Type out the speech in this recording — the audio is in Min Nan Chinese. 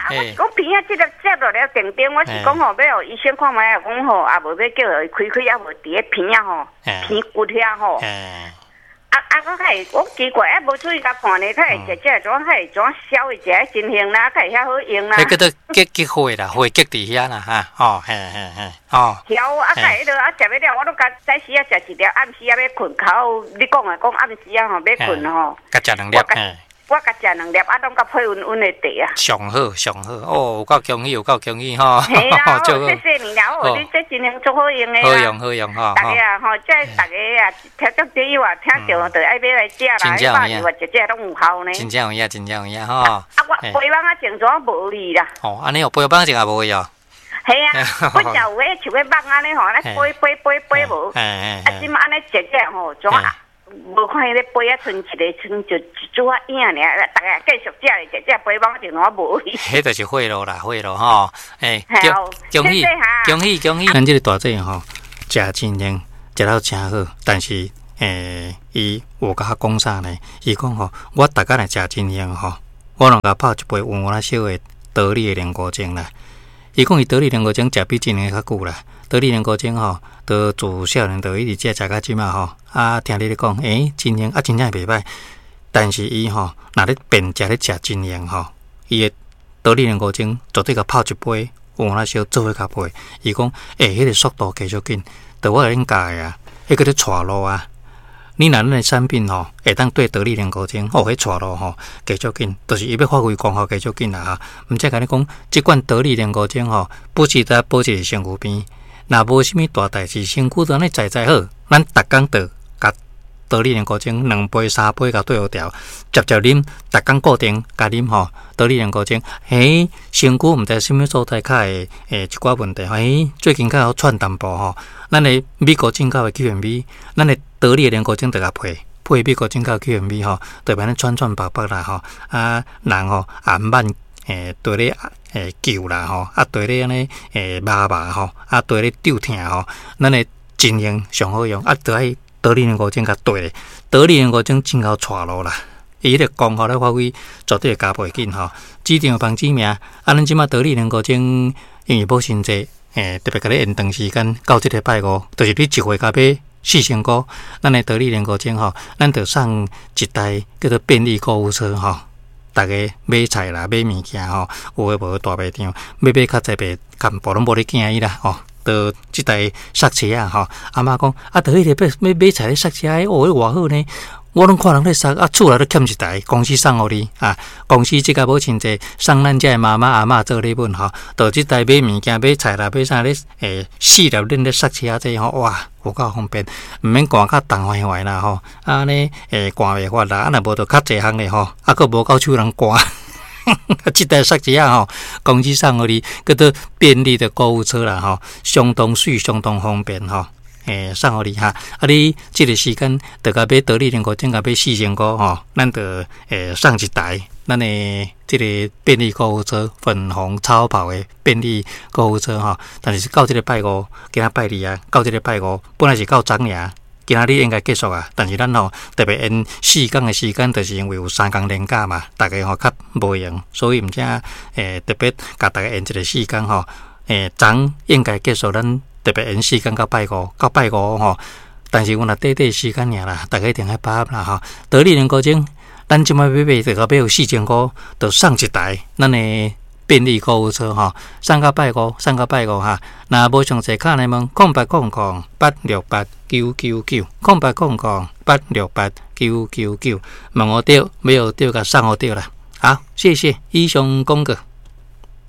啊，我是講鼻仔這粒接落了定定，我是講吼，欲予醫生看覓啊，講吼，啊無欲叫伊開開，啊無佇咧鼻仔吼，鼻骨遐吼。啊啊！我較會，我奇怪啊，無注意共看呢，較會食食怎較會怎消的食的情形啦，較會遐好用啦。彼叫做結結火啦，火結佇遐啦，哈，哦，嘿嘿嘿，哦。曉啊，較會彼落啊，食欲了，我攏共早時啊食一粒，暗時啊欲睏，較你講的講暗時啊吼，欲睏吼。共食兩粒，嘿。我共食兩粒，啊，攏共配溫溫的茶啊。上好，上好，哦，有夠恭喜，有夠恭喜吼。嘿啦，謝謝你啦，哦，你這真正足好用的好用，好用吼。大家啊，吼，這大家啊，聽眾朋友啊，聽著就愛買來食啦，百二外一隻攏有效呢。真正有影，真正有影吼。啊，我杯網仔種怎無去啦？哦，按呢哦，杯網仔種也無去哦。嘿啊，本來有彼像彼網按呢吼，按呢飛飛飛飛無。啊，這馬按呢食食吼，怎啊？無看彼个杯仔，賰一个，賰就一撮仔影爾，逐家繼續食咧，食食杯網就怎無去。彼就是血路啦，血路吼，欸，恭喜恭喜恭喜！咱這个大姐吼，食真靈，食了誠好，但是欸，伊有共我講啥呢？伊講吼，我逐工來食真靈吼，我攏共泡一杯溫溫仔燒的得力的靈菇精啦。伊講伊得力靈菇精食比真靈較久啦，得力靈菇精吼，都自少年就一直食食到這馬吼。啊，聽你咧講，欸，真靈啊，真正袂䆀。但是伊吼，若咧變食咧食真靈吼，伊的得力靈菇精絕對共泡一杯溫溫仔燒做伙共配。伊講，欸，彼個速度加足緊，著我共恁教的啊，彼叫做帶路啊。你若咱的產品吼，會當對得力靈菇精，哦，彼帶路吼，加足緊，就是伊欲發揮功效加足緊啦哈。毋才共你講，這款得力靈菇精吼，不時得保持身軀邊，若無啥物大代誌，身軀都按呢在在好，咱逐工就共得力靈菇精兩杯三杯共對予調，捷捷啉，逐工固定共啉吼，得力靈菇精，嘿，身軀毋知啥物所在較會欸一寡問題，嘿，最近較好喘淡薄吼。咱的美國進口的 QMB，咱的得力的靈菇精就共配配美國進口 QMB 吼，特別按呢喘喘白白啦吼，啊人吼也毋免欸對咧欸救啦吼，啊對咧按呢欸麻麻吼，啊對咧丟疼吼，咱的真用上好用，啊著愛得力靈菇精共對咧，得力靈菇精真𠢕帶路啦，伊彼個功效咧發揮絕對會加倍緊吼。指定房子名，啊咱這馬得力靈菇精因為母親節。欸，特別共你延長時間到這个拜五，就是你一回共買四千箍，咱的得力靈菇精吼，咱就送一台叫做便利購物車吼，逐家買菜啦、買物件吼，有的無的大賣場，欲買較濟袂較無攏無咧驚伊啦吼。就這台剎車仔吼，阿嬤講啊，著彼个買買買菜咧剎車，哦，彼偌好呢。我攏看人咧剎，啊，厝內都欠一台，公司送予你啊。公司這個母親節送咱遮的媽媽阿嬤做禮物吼，就這台買物件買菜啦買啥咧，欸，四粒輪咧剎車這吼，哇，有夠方便，毋免寒甲凍壞壞啦吼，按呢欸寒袂發啦，啊若無就較濟項咧吼，啊閣無夠手人寒。這台剎車仔吼，公司送予你，叫做便利的購物車啦吼，相當媠，相當方便吼。欸，送予你哈！啊，你這个時間就共買得力靈菇精，共買四千箍吼，咱就欸送一台咱的這個便利購物車，粉紅超跑的便利購物車吼。但是到這个拜五，今仔拜二啊，到這个拜五，本來是到昨爾，今仔日應該結束啊。但是咱吼特別延四工的時間，就是因為有三工連假嘛，逐家吼較無閒，所以毋才欸特別共逐家延一个四工吼。欸，昨應該結束咱。特別延四工到拜五，到拜五吼，但是阮若短短時間爾啦，逐家一定愛把握啦吼。得力靈菇精，咱這擺買買就共買有四千箍，就送一台咱的便利購物車吼，送到拜五，送到拜五哈。若無詳細敲來問，0800868999，0800868999，問予著，買予著，共送予著啦。好，謝謝，以上廣告。